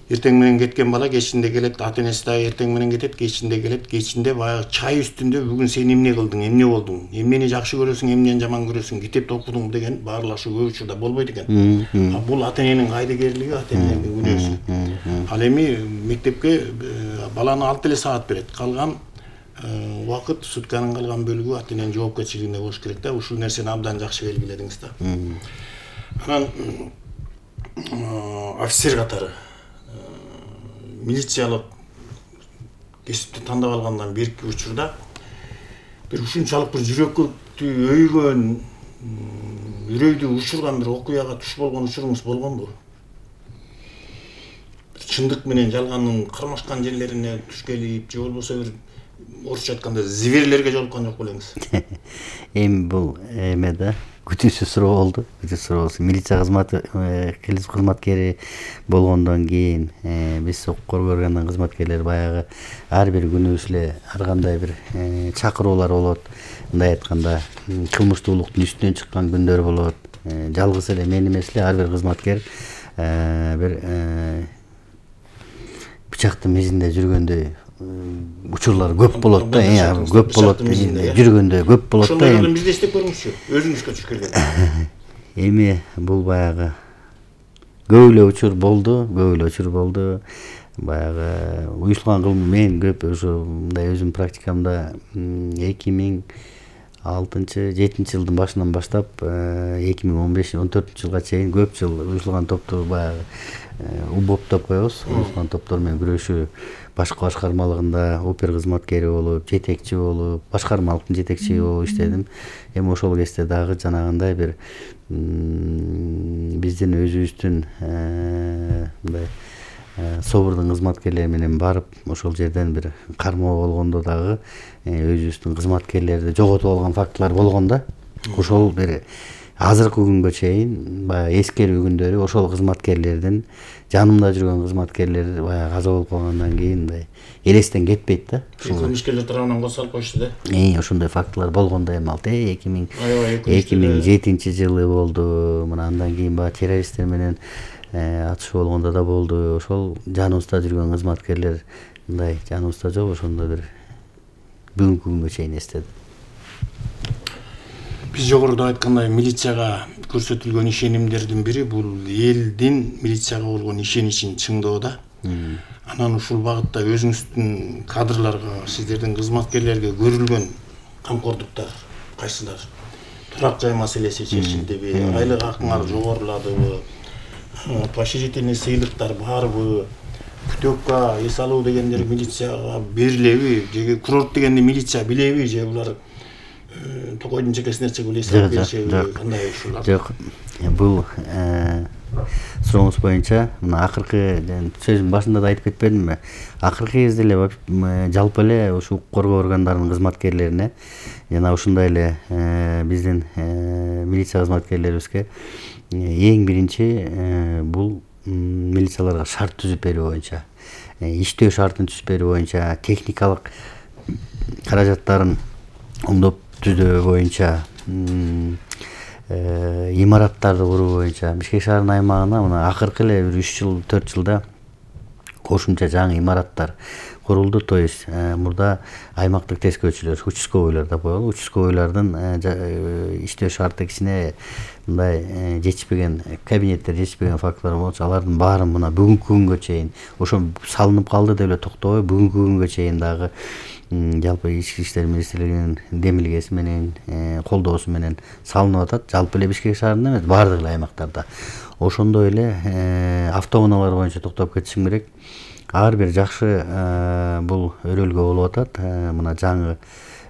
эртең менен кеткен бала кечинде келет, ата энеси дагы эртең менен кетет, кечинде келет. Кечинде баягы чай үстүндө бүгүн сен эмне кылдың, эмне болдуң, эмнени жакшы көрөсүң, эмнени жаман көрөсүң, китепти окудуң деген баарлашуу көп учурда болбойт экен. Бул ата эненин кайдыгерлиги, ата эненин күнөөсү. Ал эми мектепке баланы алып эле саат берет. Калган убакыт, сутканын калган бөлүгү ата эненин жоопкерчилигинде болуш керек да. Ушул нерсени абдан жакшы белгиледиңиз да. Анан офицер катары милициялык кесипти тандап алгандан берки учурда бир ушунчалык бир жүрөккө өйгөн, үрөйдү учурган бир окуяга туш болгон учуруңуз болгонбу? Чындык менен жалгандын кармашкан жерлерине туш келип, же болбосо бир орусча айтканда зверлерге жолуккан жок белеңиз? Эми бул эме да күтүүсүз суроо болду. Милиция кызматы кызматкери болгондон кийин биз укук коргоо органынын кызматкерлери баягы ар бир күнүбүз эле ар кандай бир чакыруулар болот. Мындай айтканда кылмыштуулуктун үстүнөн чыккан күндөр болот. Жалгыз эле мен эмес эле ар бир кызматкер бир бычактын мизинде жүргөндөй учурлар көп болот да, көп болот, жүргөндө көп болот да. Ошондой бизде иштеп көрүңүзчү, өзүңүзгө туш келген. Эми бул баягы көп эле учур болду. Баягы уюштурулган кылмыш мен көп ушундай өзүм практикамда 2006-7 жылдын башынан баштап 2015-14 жылга чейин көп жыл уюштурулган топту баягы УБОП деп коебуз. Уюштурулган топтор менен күрөшүү башкы башкармалыгында опер кызматкери болуп, жетекчи болуп, башкармалыктын жетекчиси болуп иштедим. Эми ошол кезде дагы жанагындай бир биздин өзүбүздүн мындай собурдун кызматкерлери менен барып ошол жерден бир кармоо болгондо дагы өзүбүздүн кызматкерлерди жоготуп алган фактылар болгон да. Ошол бир азыркы күнгө чейин баягы эскерүү күндөрү ошол кызматкерлердин жанымда жүргөн кызматкерлер баягы каза болуп калгандан кийин мындай элестен кетпейт да. Кылмышкерлер тарабынан козголуп коюшту да. Ошондой фактылар болгондо эми ал 2007 жылы болду. Мына андан кийин баягы террористтер менен атышуу болгондо да болду. Ошол жаныбызда жүргөн кызматкерлер мындай жаныбызда жок, ошондо бир бүгүнкү күнгө чейин эстедим. Биз жогоруда айткандай милицияга көрсөтүлгөн ишенимдердин бири бул элдин милицияга болгон ишеничин чыңдоо да. Анан ушул багытта өзүңүздүн кадрларга, сиздердин кызматкерлерге көрүлгөн камкордуктар кайсылар? Турак жай маселеси чечилдиби? Айлык акыңар жогоруладыбы? Поощрительный сыйлыктар барбы? Путевка, эс алуу дегендер милицияга берилеби? Же курорт дегенди милиция билеби? Же булар токойдун чекесине чыгып эле эсеп беришеби? Кандай ушулар? Жок. Бул сурооңуз боюнча мына акыркы сөзүмдүн башында да айтып кетпедимби? Акыркы кезде эле жалпы эле ушу укук коргоо органдарынын кызматкерлерине жана ушундай эле биздин милиция кызматкерлерибизге эң биринчи бул милицияларга шарт түзүп берүү боюнча, иштөө шартын түзүп берүү боюнча, техникалык каражаттарын оңдоп түзөө боюнча, имараттарды куруу боюнча Бишкек шаарынын аймагына мына акыркы эле бир 3 жыл 4 жылда кошумча жаңы имараттар курулду. То есть мурда аймактык тескөөчүлөр, участковыйлар деп коелу, участковыйлардын иштөө шарты кичине мындай жетишпеген, кабинеттер жетишпеген фактылар болчу. Алардын баарын мына бүгүнкү күнгө чейин ошо салынып калды деп эле токтобой бүгүнкү күнгө чейин дагы жалпы ички иштер министрлигинин демилгеси менен колдоосу менен салынып атат. Жалпы эле Бишкек шаарында эмес, баардык эле аймактарда. Ошондой эле автоунаалар боюнча токтоп кетишим керек. Ар бир жакшы бул өрөөлгө болуп атат. Мына жаңы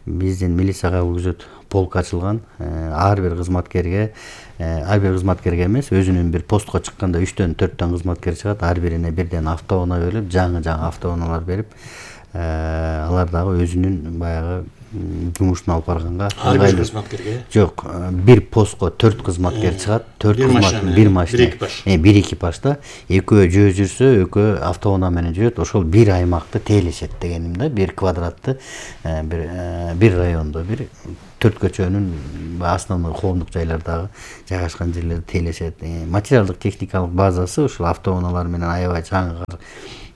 биздин милицияга күзөт полк ачылган. Ар бир кызматкерге эмес, өзүнүн бир постко чыкканда 3-төн 4төн кызматкер чыгат. Ар бирине бирден автоунаа берилип, жаңы автоунаалар берип, алар дагы өзүнүн баягы жумушун алып барганга ар бир кызматкерге жок, бир постко 4 кызматкер чыгат, 4 кызматкер, бир машина, бир экипажда, экөө жөө жүрсө, экөө автоунаа менен жүрөт. Ошол бир аймакты тейлешет дегеним да, бир квадратты бир райондо бир төрт көчөнүн основной коомдук жайлардагы жайгашкан жерлерди тейлешет. Материалдык техникалык базасы ушул автоунаалар менен аябай чаңгы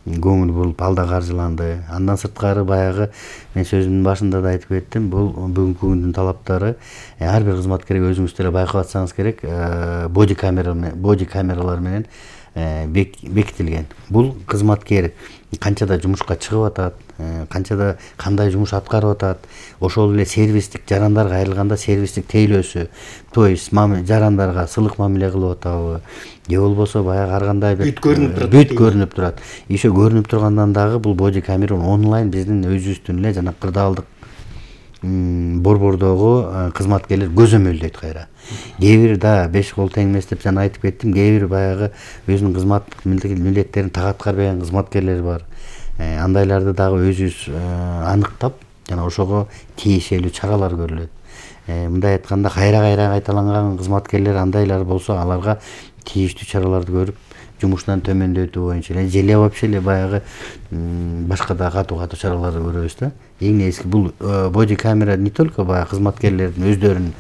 көңүл буруп алда каржыланды. Андан сырткары баягы мен сөзүмдүн башында да айтып кеттим, бул бүгүнкү күндүн талаптары ар бир кызматкерге өзүңүз деле байкап атсаңыз керек, боди камералар менен бекитилген. Бул кызматкер канчада жумушка чыгып атат, канчада кандай жумуш аткарып атат, ошол эле сервистик жарандарга айрылганда сервистик тейлөөсү, то есть жарандарга сылык мамиле кылып атабы, же болбосо баягы ар кандай бир бүт көрүнүп турат. Еще көрүнүп тургандан дагы бул боди камера онлайн биздин өзүбүздүн эле жана кырдаалдык борбордогу кызматкерлер көзөмөлдөйт кайра. Кээ бир да 5 кол тең эмес деп жана айтып кеттим, кээ бир баягы өзүнүн кызматтык милдеттерин так аткарбаган кызматкерлер бар. Андайларды дагы өзүбүз аныктап, жана ошого тиешелүү чаралар көрүлөт. Мындай айтканда кайра кайталанган кызматкерлер андайлар болсо, аларга тийиштүү чараларды көрүп, жумушунан төмөндөтүү боюнча эле же вообще эле баягы башка да катуу чараларды көрөбүз да. Эң негизги бул боди камера не только баягы кызматкерлердин өздөрүн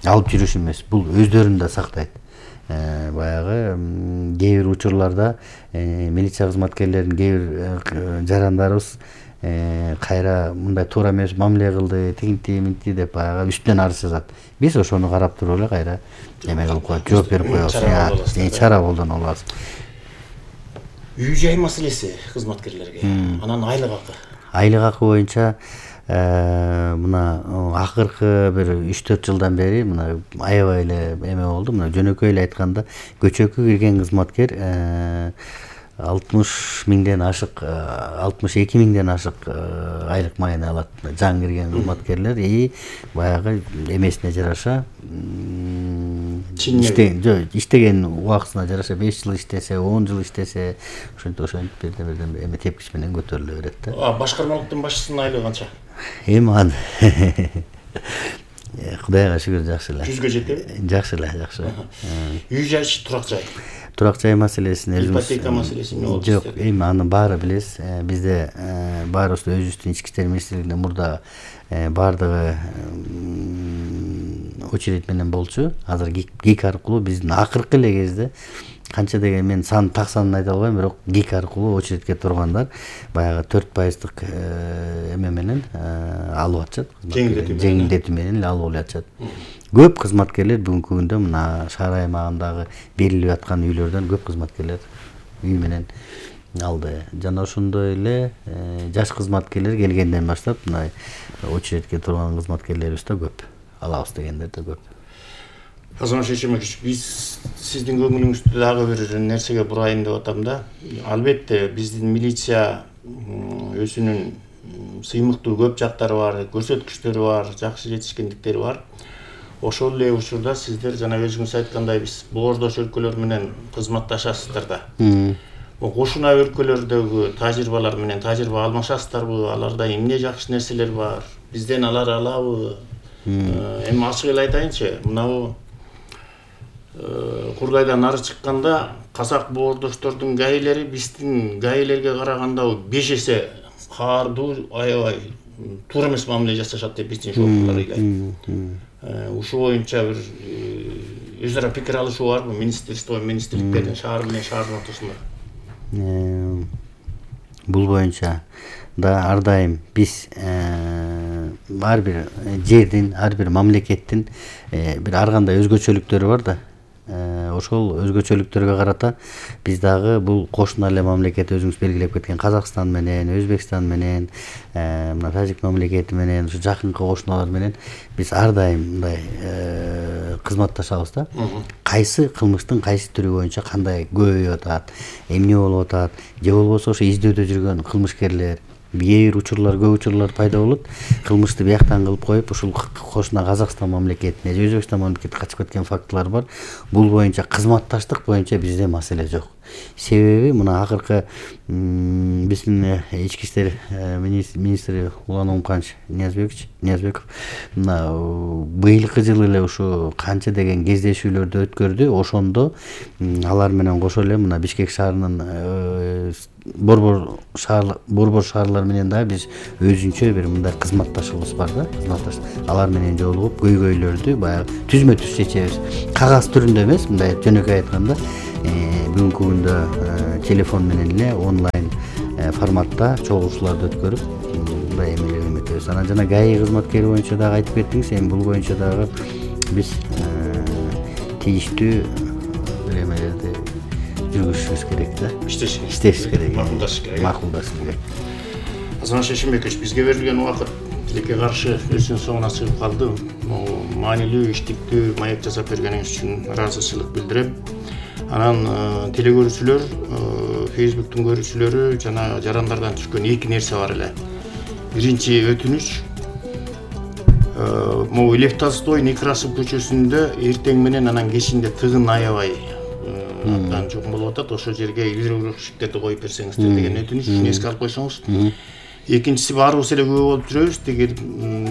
алып жүрүш эмес, бул өздөрүн да сактайт. Баягы кээ бир учурларда милиция кызматкерлеринин кээ бир жарандарыбыз кайра мындай туура эмес мамиле кылды, тигинти деп баягы үстүнөн арыз жазат. Биз ошону карап туруп эле кайра эме кылып коет, жооп берип коебуз, чара колдоно алабыз. Үй жай маселеси кызматкерлерге, анан айлык акы. Айлык акы боюнча мына акыркы бир 3-4 жылдан бери мына аябай эле эме болду. Мына жөнөкөй эле айтканда көчөккө кирген кызматкер 60 миңден ашык, 62 миңден ашык айлык маен алат. Жаңы кирген кызматкерлер баягы эмесине жараша иштеген убактысына жараша 5 жыл иштесе, 10 жыл иштесе, ошентип бирден эме тепкич менен көтөрүлө берет да. Башкармалыктын башчысынын айлыгы канча? Эми Кудайга шүгүр жакшы эле. 100гө жетеби? Жакшы эле, жакшы. Үй жайчы турак жай. Турак жай маселесин ипотека маселеси эмне болду? Жок, эми анын баары билесиз. Бизде баарыбыз өзүбүздүн ички иштер министрлигинде мурда баардыгы очередь менен болчу. Азыр ГИК аркылуу биздин акыркы эле кезде канча деген мен так санын айта албайм, бирок ГИК аркылуу очередке тургандар баягы 4%-дык эме менен алып атышат. Жеңилдетүү менен эле алып атышат. Көп кызматкерлер бүгүнкү күндө мына шаар аймагындагы берилип аткан үйлөрдөн көп кызматкерлер үй менен алды. Жана ошондой эле жаш кызматкерлер келгенден баштап мына очередке турган кызматкерлерибиз да көп. Алабыз дегендер да көп. Азамат Шешемович, биз сиздин көңүлүңүздү дагы бир нерсеге бурайын деп атам да. Албетте биздин милиция өзүнүн сыймыктуу көп жактары бар, көрсөткүчтөрү бар, жакшы жетишкендиктери бар. Ошол эле учурда сиздер жана өзүңүз айткандай биз боордош өлкөлөр менен кызматташасыздар да. Кошуна өлкөлөрдөгү тажрыйбалар менен тажрыйба алмашасыздарбы? Аларда эмне жакшы нерселер бар? Бизден алар алабы? Эми ачык эле айтайынчы, мынабу Кургайдан нары чыкканда казак боордоштордун гаилери биздин гаилерге караганда 5 эсе каардуу, аябай туура эмес мамиле жасашат деп биздин шоферлор ыйлайт. Ушул боюнча бир өз ара пикир алышуу барбы? Министрликтердин шаар менен шаардын ортосунда? Бул боюнча да ар дайым биз ар бир жердин, ар бир мамлекеттин бир ар кандай өзгөчөлүктөрү бар да. Ошол өзгөчөлүктөргө карата биз дагы бул кошуна эле мамлекет өзүңүз белгилеп кеткен Казакстан менен, Өзбекстан менен, мына Тажик мамлекети менен, ушу жакынкы кошуналар менен биз ар дайым мындай кызматташабыз да. Кайсы кылмыштын кайсы түрү боюнча кандай көбөйүп атат, эмне болуп атат, же болбосо ошо издөөдө жүргөн кылмышкерлер бир учурлар, көп учурлар пайда болот. Кылмышты бияктан кылып коюп, ушул кошуна Казакстан мамлекетине, Өзбекстан мамлекетине качып кеткен фактылар бар. Бул боюнча кызматташтык боюнча бизде маселе жок. Себеби мына акыркы биздин ички иштер министри Улан Омканович Ниязбеков мына быйылкы жылы эле ушу канча деген кездешүүлөрдү өткөрдү. Ошондо алар менен кошо эле мына Бишкек шаарынын борбор шаарлар менен дагы биз өзүнчө бир мындай кызматташыбыз бар да, кызматташ. Алар менен жолугуп көйгөйлөрдү баягы түзмө түз чечебиз. Кагаз түрүндө эмес, мындай жөнөкөй айтканда, бүгүнкү күндө телефон менен эле онлайн форматта чогулуштууларды өткөрүп мындай эмелеп өтөбүз. Анан жана ГАИ кызматкери боюнча дагы айтып кеттиңиз, эми бул боюнча дагы биз тийиштүү бир эмелерди жүргүзүшүбүз керек да. Иштешибиз керек. Макулдашыш керек. Азамат Шешенбекович, бизге берилген убакыт тилекке каршы өзүнүн соңуна чыгып калды. Маанилүү, иштиктүү маек жасап бергениңиз үчүн ыраазычылык билдирем. Анан телекөрүүчүлөр, Facebooktун көрүүчүлөрү жана жарандардан түшкөн эки нерсе бар эле. Биринчи өтүнүч, могу Лев Толстой Некрасов көчөсүндө эртең менен анан кечинде тыгын аябай абдан жокун болуп атат. Ошол жерге гидроурушниктерди коюп берсеңиздер деген өтүнүч үчүн эске алып койсоңуз. Экинчиси, баарыбыз эле күбө болуп жүрөбүз. Тиги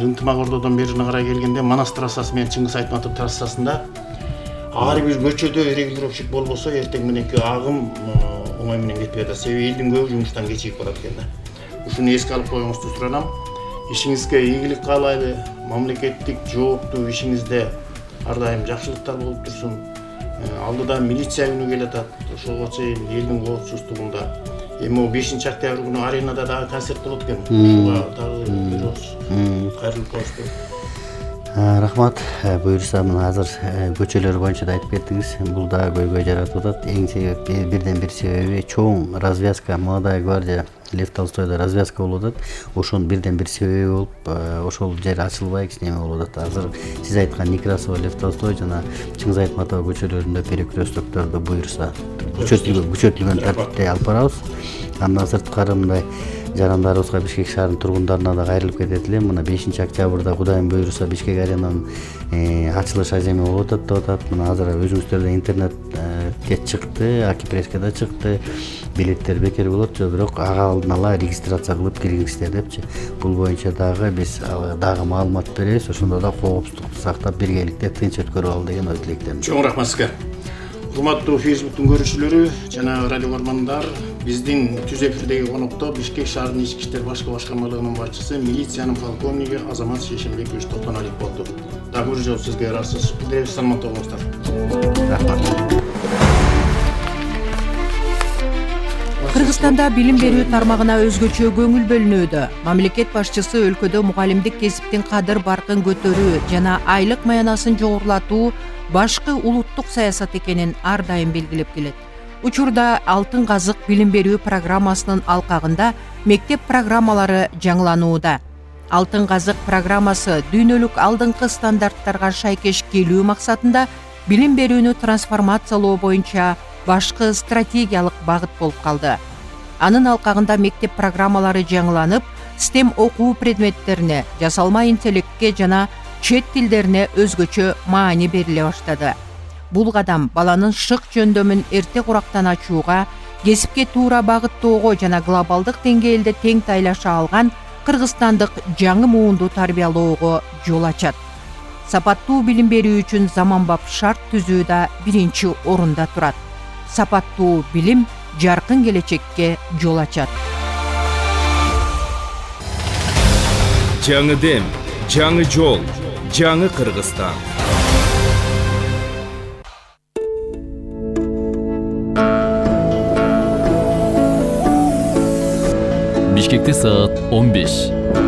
Ынтымак Ордодон берине карай келгенде Манас трассасы менен Чыңгыз Айтматов трассасында ар бир көчөдө регулировщик болбосо эртең мененки агым оңой менен кетпей атат. Себеби элдин көбү жумуштан кечигип барат экен да. Ушуну эске алып коюңузду суранам. Ишиңизге ийгилик каалайлы, мамлекеттик жооптуу ишиңизде ар дайым жакшылыктар болуп турсун. Алдыда милиция күнү келатат. Ошого чейин элдин коопсуздугунда. Эми 5-октябрь күнү аренада дагы концерт болот экен. Ушуга дагы беребиз. Кайрылып коюшту. Рахмат. Буюрса, мына азыр көчөлөр боюнча да айтып кеттиңиз. Бул да көйгөй жаратып атат. Эң себеби, бирден бир себеби чоң развязка, Молодая гвардия, Лев Толстойдо развязка болуп атат. Ошонун бирден бир себеби болуп, ошол жер ачылбай кичине болуп атат. Азыр сиз айткан Некрасова, Лев Толстой жана Чыңгыз Айтматов көчөлөрүндө перекресттокторду буюрса күчөтүлгөн тартипте алып барабыз. Андан сырткары мындай жарандарыбызга, Бишкек шаарынын тургундарына да кайрылып кетет элем. Мына 5-октябрда Кудайым буйруса Бишкек аренанын ачылыш аземи болуп атат деп атат. Мына азыр өзүңүздөр да интернетке чыкты, Акипресске да чыкты. Билеттер бекер болот, бирок ага алдын ала регистрация кылып киргиңиздер депчи. Бул боюнча дагы биз дагы маалымат беребиз. Ошондо да коопсуздукту сактап биргеликте тынч өткөрүп алалы деген ой тилектемин. Чоң рахмат сизге. Урматтуу Facebooktун көрүүчүлөрү жана радио көрмандар, биздин түз эфирдеги конокто Бишкек шаарынын ички иштер башкы башкармалыгынын башчысы, милициянын полковниги Азамат Шешенбекович Токтоналиев болду. Дагы бир жолу сизге ыраазычылык билдиребиз. Саламатта болуңуздар. Рахмат. Кыргызстанда билим берүү тармагына өзгөчө көңүл бөлүнүүдө. Мамлекет башчысы өлкөдө мугалимдик кесиптин кадыр баркын көтөрүү жана айлык маянасын жогорулатуу башкы улуттук саясат экенин ар дайым белгилеп келет. Учурда Алтын казык билим берүү программасынын алкагында мектеп программалары жаңыланууда. Алтын казык программасы дүйнөлүк алдыңкы стандарттарга шайкеш келүү максатында билим берүүнү трансформациялоо боюнча башкы стратегиялык багыт болуп калды. Анын алкагында мектеп программалары жаңыланып, STEM окуу предметтерине, жасалма интеллектке жана чет тилдерине өзгөчө маани бериле баштады. Бул кадам баланын шык жөндөмүн эрте курактан ачууга, кесипке туура багыттоого жана глобалдык деңгээлде тең тайлаша алган кыргызстандык жаңы муунду тарбиялоого жол ачат. Сапаттуу билим берүү үчүн заманбап шарт түзүү да биринчи орунда турат. Сапаттуу билим жаркын келечекке жол ачат. Жаңы дем, жаңы жол, жаңы Кыргызстан. Бишкекте саат 15.